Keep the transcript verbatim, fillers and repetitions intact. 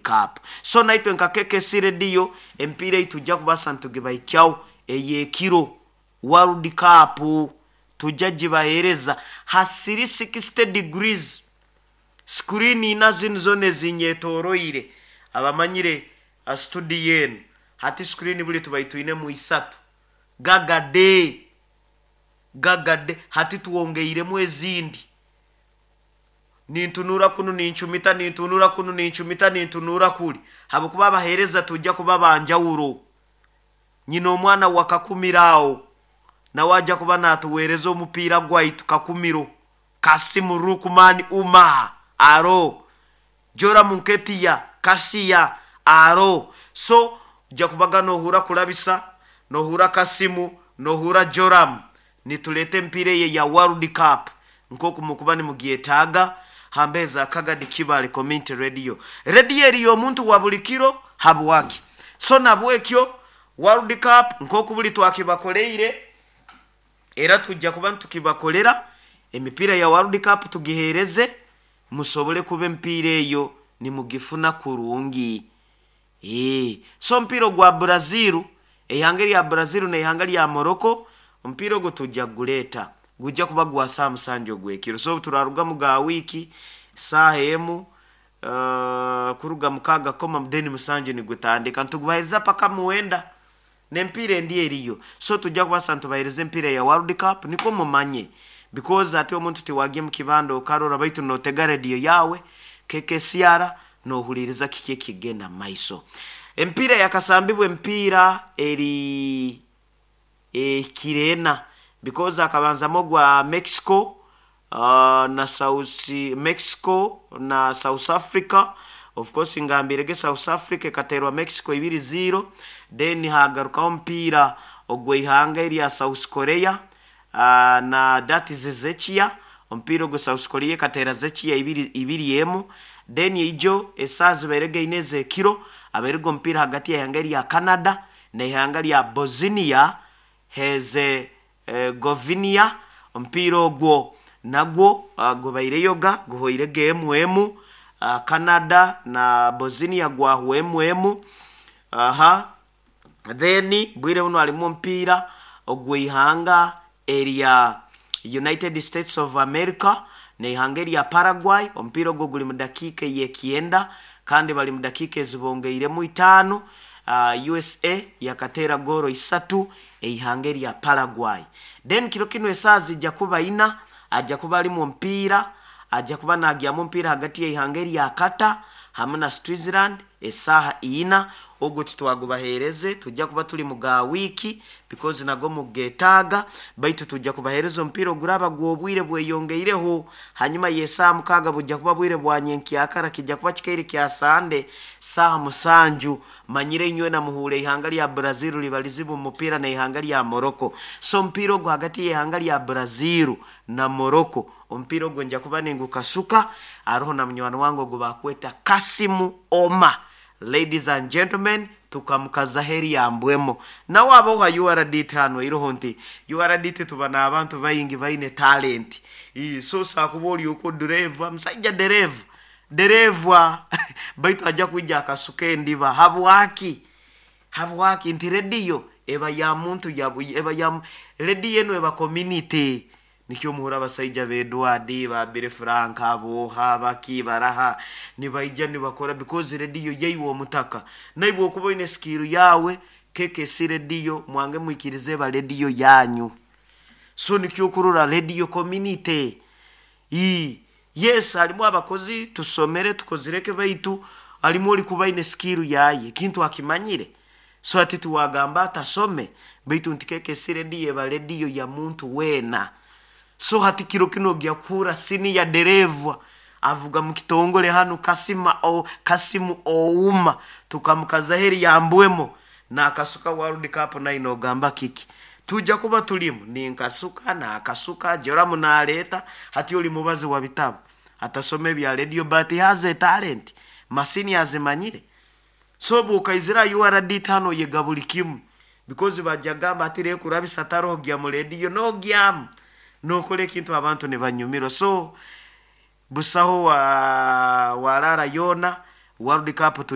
Cup. So naitwe nka K K C Radio, empiira ei tujja kubasa nitugibahikyaho ey'ekiro, World Cup tujja gibaheereza ha three sixty degrees screen ina zinu zona ezinyetoroire. Abamanyire uh, studio enu hati screen buli tubai twinemu isatu gagade gagade, hati twongeiremu ezindi. Nintunura kunu nincumita, nintunura kunu nincumita, nintunura kuli, habwokuba abaheereza tujja kuba banjawuro. Nyina omwana wa Kakumiro awo nawe ajja kuba natuweereza omupiira gwaitu. Kakumiro Kasimu Rukman Umar aro, Joram Nketiya Kasiya aro. So ojja kubaga nohura Kulabisa, nohura Kasimu, nohura Joram, nituleeta empiira eye ya World Cup nkoku mukuba nimugyetaaga hambeza Kagadi Kibale Community Radio, radio eriyo omuntu wa buli kiro. Habwaki? So nabwekyo World Cup nkoku buli twakibakoleire, era tujja kuba nitukibakolera emipiira ya World Cup, tugiheereze musobole kuba empiira eyo nimugifuna kurungi. Ee, so omupiira ogwa Brazil, eihanga lya Brazil neihanga lya Morocco, omupiira ogwo tujja kuguleeta, gujja kuba gwa saa musanju ogwekiro. So turarugamu ga wiiki saaha emu, uh, kuruga mukaaga koma then musanju nigutandika, nitugubahereza paka muwenda nempiira endi eriyo. So tujja kubasa nitubahereza empiira ya World Cup nikwo mumanye, because ate omuntu tiwagye mu kibanda okarora, baitu notega rediyo yawe K K C R nohuliriza kiki ekigenda maiso. Empiira yakasambibwa, empiira eri ekireena, because akabanzamu ogwa Mexico uh, na South Mexico na South Africa. Of course ngambirege South Africa ekaterwa Mexico ibiri zero. Then hagarukaho omupiira ogw'eihanga erya South Korea uh, na that is Zechia. Omupiira ogwo South Korea ekateera Zechia ibiri ibiri emu. Then ijo esaaha zibaire ine ez'ekiro abairege omupiira hagati y'eihanga erya Canada n'eihanga lya Bosnia Herzegovina. Omupiira ogwo nagwo uh, gubaireyoga guhoirege emu emu. uh, Canada na Bosnia gwahwa emu emu. Aha, then bwire buno halimu omupiira ogw'eihanga erya United States of America neihanga erya Paraguay. Omupiira ogwo guli mu dakiika ey'ekyenda kandi bali mu dakiika ezibongeiremu itaano. uh, U S A yakateera goro isatu eihanga erya Paraguay. Then kiro kino esaaha zijja kuba ina ajja kuba alimu omupiira, ajja kuba nagyamu omupiira hagati y'eihanga erya Qatar hamwe na Switzerland esaaha ina. Ogwo titwagubaheereze, tujja kuba tuli mu ga wiiki because nago mugetaaga, baitu tujja kubaheereza omupiira oguraba gw'obwire bweyongeireho. Hanyuma y'esaaha mukaaga bujja kuba bwire bwa nyenkyakara, kijja kuba kikaire kya Sande saaha musanju. Manyire inywe namuhuura ihanga lya Brazil liba lizibu mu mupiira n'ihanga lya Morocco. So omupiira ogwo hagati y'ihanga lya Brazil na Morocco, omupiira ogwo nja kuba ningukasuka aroho na munywani wange ogwo bakweta Kasimu Oma. Ladies and gentlemen, tukamukaza heri yambwemo nawe aboha U R D T hano iroho nti U R D T tuba n'abantu baingi baine talent. Ii, so sakuba oli okwo dereva, musajja dereva dereva, baitu ajja kwija akasuka endiba. Habwaki? Habwaki nti rediyo eba ya muntu ya eba ya rediyo eno eba community. Nikyo muhura abasaija b'Edward ba Bire Frank aboha baki baraha nibaija nibakora, because rediyo yaiwe omutaka naibwe okuba oine skill yawe. K K C Radio mwange mwikirize eba rediyo yanyu. So nikyo okurora radio community. Ii, yes, halimu abakozi tusomere tukozireke, baitu halimu oli kuba aine skill yaye kintu akimanyire. So ati tiwagamba atasome, baitu nti K K C Radio eba rediyo ya muntu weena. So hati kiro kino gyakuhura sini ya dereva avuga mu kitongole hano Kasima o Kasimu Ouma, tukamukaza heri yambwemo nakasuka World Cup naino ogamba kiki tujja kuba tulimu ninkasuka nakasuka Joramu naleeta. Hati oli mubazi wa bitabu atasoma ebya radio, but he has a talent, masini azimanyire. So bwokaizira U R D hano yega buli kimu, because bajja gamba ati rekurabisa tarogya mu radio nogyamu nokora ekintu abantu nibanyumirwa. So busaho wa warara yona World Cup.